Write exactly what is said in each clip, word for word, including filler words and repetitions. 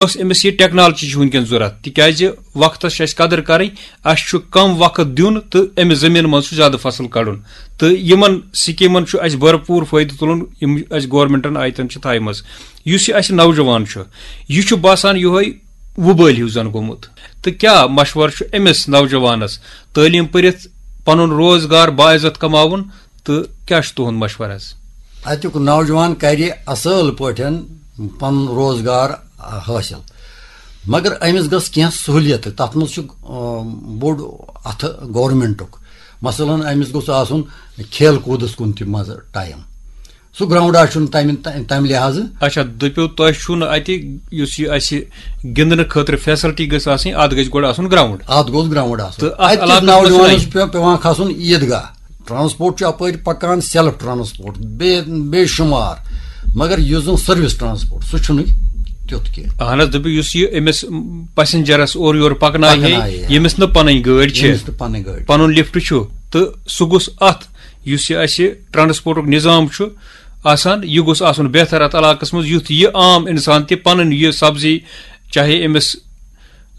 یۄس أمِس یہِ ٹیکنالوجی چھِ وٕنکیٚن ضوٚرَتھ، تِکیٛازِ وقتَس چھِ اَسہِ قدٕر کَرٕنۍ، اَسہِ چھُ کَم وقت دیُن تہٕ أمِس زٔمیٖن منٛز چھُ زیادٕ فصل کَڑُن۔ تہٕ یِمَن سکیٖمَن چھُ اَسہِ بھرپوٗر فٲیدٕ تُلُن، یِم اَسہِ گورمنٹَن آیتَن چھِ تھایمَژٕ۔ یُس یہِ اَسہِ نوجوان چھُ، یہِ چھُ باسان یِہوٚے وُبٲلۍ ہیوٗ زَن گوٚمُت۔ تہٕ کیٛاہ مشوَرٕ چھُ أمِس نوجوانَس تعلیٖم پٔرِتھ پَنُن روزگار باعزت کماوُن؟ تہٕ کیٛاہ چھُ تُہُنٛد مشورٕ حظ؟ اَتیُک نوجوان کَرِ اَصٕل پٲٹھۍ پَنُن روزگار، آ، حٲصِل، مگر أمِس گٔژھ کینٛہہ سہوٗلیت۔ تَتھ منٛز چھُ، آ، بوٚڑ اَتھٕ گورمنٹُک۔ مثلاً، أمِس گوٚژھ آسُن کھیل کوٗدَس کُن تہِ منٛزٕ ٹایم۔ سُہ گراوُنٛڈ آسہِ چھُنہٕ تَمہِ، تَمہِ لحاظہٕ۔ اچھا، دٔپِو، تۄہہِ چھُو نہٕ اَتہِ یُس یہِ اَسہِ گِنٛدنہٕ خٲطرٕ فیسلٹی گٔژھ آسٕنۍ، اَتھ گژھِ گۄڈٕ آسُن گراوُنٛڈ۔ اَتھ گوٚژھ گراوُنٛڈ آسُن۔ تہٕ اَتھ اَتہِ کِس علاقَس منٛز نوجوانَس چھُنہٕ۔ چھُ پٮ۪وان کھسُن عیٖدگاہ۔ ٹرانسپورٹ چھُ اَپٲرۍ پَکان، سیلف ٹرانسپورٹ، بے، بے شُمار۔ مگر یُس زَن سٔروِس ٹرانسپورٹ، سُہ چھُنہٕ تیُتھ کینٛہہ۔ اہن حظ، دٔپِو، یُس یہِ أمِس پیسنجرس اورٕ یورٕ پَکنایہِ ہے، پَکنایہِ ہے۔ ییٚمِس نہٕ پَنٕنۍ گٲڑۍ چھِ، ییٚمِس نہٕ پَنٕنۍ گٲڑۍ۔ پَنُن لفٹ چھُ، تہٕ سُہ گوٚژھ اَتھ، یُس یہِ اَسہِ ٹرانسپورٹُک نظام چھُ آسان، یہِ گوٚژھ آسُن بہتر اَتھ علاقَس منٛز، یُتھ یہِ عام اِنسان تہِ پَنٕنۍ یہِ سبزی، چاہے أمِس،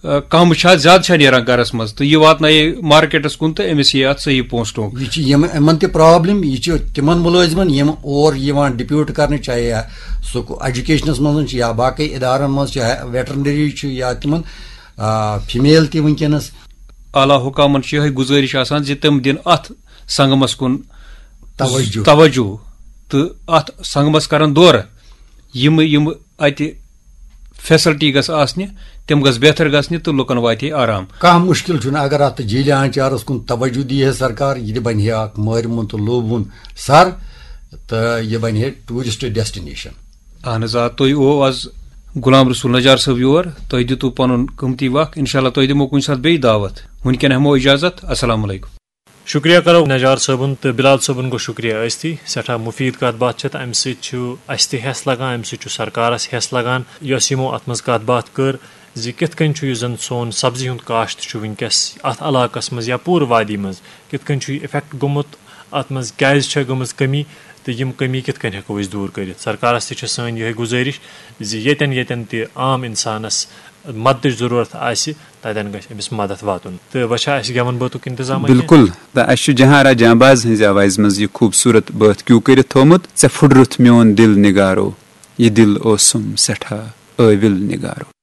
آ، کَم چھا، زیادٕ چھا نیران گَرَس منٛز، تہٕ یہِ واتنایہِ مارکیٹَس کُن تہٕ أمِس یی اَتھ صحیح پونٛسہٕ ٹونٛگ۔ یہِ چھِ یِم، یِمَن تہِ پرابلم، یہِ چھِ تِمَن مُلٲزمَن، یِم اور یِوان ڈِپیوٗٹ کَرنہٕ، چاہے سُہ ایجوکیشنَس منٛز چھِ یا باقٕے اِدارَن منٛز چھِ، ویٹرنری چھِ یا تِمَن، آ، فیمیل تہِ وٕنکیٚنَس۔ اعلیٰ حکامَن چھِ یِہوٚے گُزٲرِش آسان زِ تِم دِن اَتھ سنگمَس کُن توجہ۔ توجہ تہٕ اَتھ سنگمَس کَرَن دورٕ۔ یِم، یِم اَتہِ فیسلٹی گژھِ آسنہِ، تِم گژھِ بہتر گژھنہِ تہٕ لُکَن واتہِ ہے آرام۔ کانٛہہ مُشکِل چھُنہٕ، اگر اَتھ جھیٖلہِ آنٛچارَس کُن توجہ دی ہے سرکار، یہِ تہِ بَنہِ ہے اَکھ مٲرِمُن تہٕ لوٗبوُن سَر، تہٕ یہِ بَنہِ ہے ٹوٗرِسٹ ڈیسٹِنیشن۔ اہن حظ آ، تُہۍ اوس آز غلام رسول نجار صٲب یور، تۄہہِ دیُتوُ پنُن قۭمتی وقت، انشاءاللہ تۄہہِ دِمو کُنہِ ساتہٕ بیٚیہِ دعوت۔ وٕنکٮ۪ن ہٮ۪مو اجازت، السلام علیکم۔ شُکریہ کرو نجار صٲبُن تہٕ بلال صٲبُن گوٚو شُکریہ ٲستی، سٮ۪ٹھاہ مُفیٖد کتھ باتھ چھِ تہٕ امہِ سۭتۍ چھُ اسہِ تہِ ہٮ۪س لگان، امہِ سۭتۍ چھُ سرکارس ہٮ۪س لگان، یۄس یِمو اتھ منٛز کتھ باتھ کٔر زِ کِتھ کٔنۍ چھُ یُس زن سون سبزی ہُنٛد کاشت چھُ وٕنکیٚس اتھ علاقس منٛز یا پوٗرٕ وادی منٛز کِتھ کٔنۍ چھُ یہِ افیکٹ گوٚمُت، اتھ منٛز کیازِ چھےٚ گٔمٕژ کٔمی تہٕ یِم کٔمی کِتھ کٔنۍ ہٮ۪کو أسۍ دوٗر کٔرِتھ۔ سرکارس تہِ چھِ سٲنۍ یِہے گُزٲرِش زِ ییٚتٮ۪ن ییٚتٮ۪ن تہِ عام انسانس مددٕچ ضروٗرت آسہِ، تتٮ۪ن گژھِ أمِس مدد واتُن۔ تہٕ وۄنۍ چھا اسہِ گٮ۪ون بٲتُک انتظام اتہِ؟ بِلکُل۔ تہٕ اسہِ چھُ جہاں آرا جہاں باز ہٕنٛزِ آوازِ منٛز یہِ خوٗبصوٗرت بٲتھ کیوٗ کٔرِتھ تھوٚومُت، "ژےٚ پھُٹرُتھ میون دِل نگارو، یہِ دِل اوسُم سٮ۪ٹھاہ ٲوِل نگارو۔"